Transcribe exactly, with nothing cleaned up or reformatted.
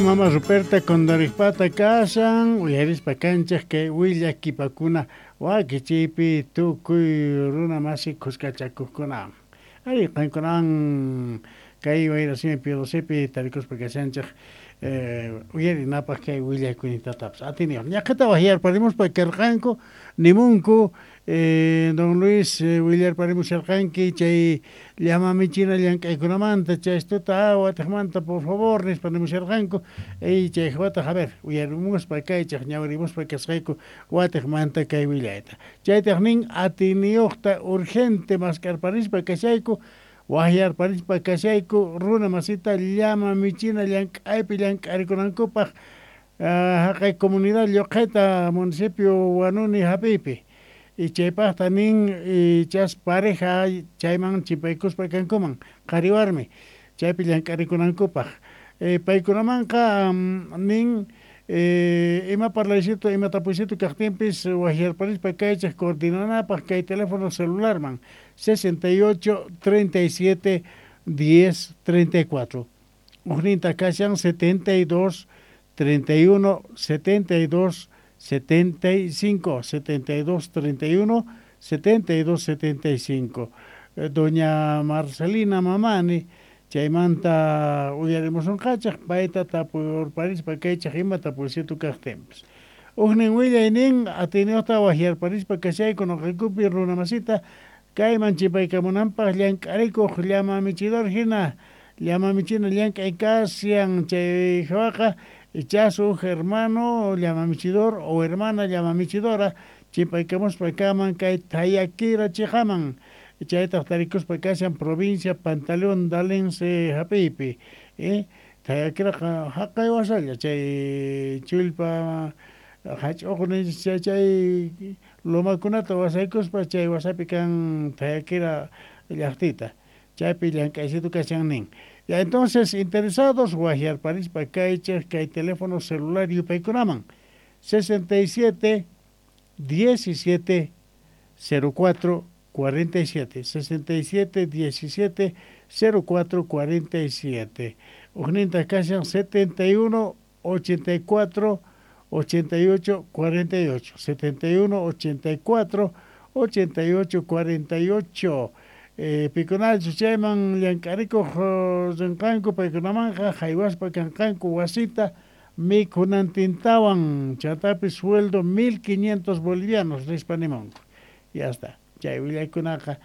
Mama Ruperta Condoripata kashan, uyarispa kanchik kay willakipakuna wakichiypi tukuy runa masi kuskachakuqkuna. Ari qankunan kay wayrasimi P doce pi tarikuspa kashanchik eh, uyarinapaq kay willakuynintatapis atiniyuq. Ñaqhata waqyarparimuspa karqanku nimunku eh, don Luis eh, willarparimusharqanki chay llama michina llank'aykunamanta chaystuta watiqmanta, por favor, nispa nimusharqanku. Y chay wataq, a ver, uyarimuspa kaychaq ñawirimuspa kasqayku watiqmanta kay willayta. Chaytaq nin atiniyuqta urgente mask'arparispa kashayku, waqyarparispa kashayku runa masita llama michina llank'aypi llank'arikunankupaq haqay comunidad Lluqhita, municipio Huanuni hap'iypi. Y chaypaqta nin chas pareja chayman chipaykuspa kankuman qhari warmi chaypi llank'arikunankupaq. Paykunamanqa nin ima parlaycito, ima tapuycito kaqtinpis waqyarparispa kaychik coordinanapaq kay teléfono celularman sesenta y ocho treinta y siete diez treinta y cuatro. Ujninta kashan setenta y dos treinta y uno setenta y dos setenta y cinco, setenta y dos treinta y uno setenta y dos setenta y cinco. Doña Marcelina Mamani chaymanta uyarimusunqachaq payta tapurparispa kaychaq ima tapuycito kaqtinpis. Ujnin willaynin atiniyuqta waqyarparispa kashayku nuqaykupi runa masita kayman chipaykamunanpaq llank'arikuq llama michidor hina, llama michina llank'ay kashan. Chay hawaqa ichas huk hermano llama michidor o hermana llama michidora chipaykamuspa kaman kay Tayakira chiqaman, chaytaq tarikuspa kashan provincia Pantaleón Dalense hap'iypi eh Tayakiraqa haqay wasalla chay chullpa hach'uqu chay chay lomakunata wasaykuspa chay wasapi kan Tayakira llaqtita, chaypi llank'aysitu kashan nin. Ya, entonces, interesados waqyarparispa kaychik kay teléfono celular yupaykunaman sesenta y siete diecisiete cero cuatro cuarenta y siete, sesenta y siete diecisiete cero cuatro cuarenta y siete. Ujninta kashan setenta y uno ochenta y cuatro ochenta y ocho cuarenta y ocho, setenta y uno ochenta y cuatro ochenta y ocho cuarenta y ocho. eh, pikunachus chayman llank'arikuq rinqanku paykunamanqa haywaspa kanqanku wasita mikhunantintawan, chantapis sueldo mil quinientos bolivianos nispa nimunku. Ya está, chay willaykunaqa.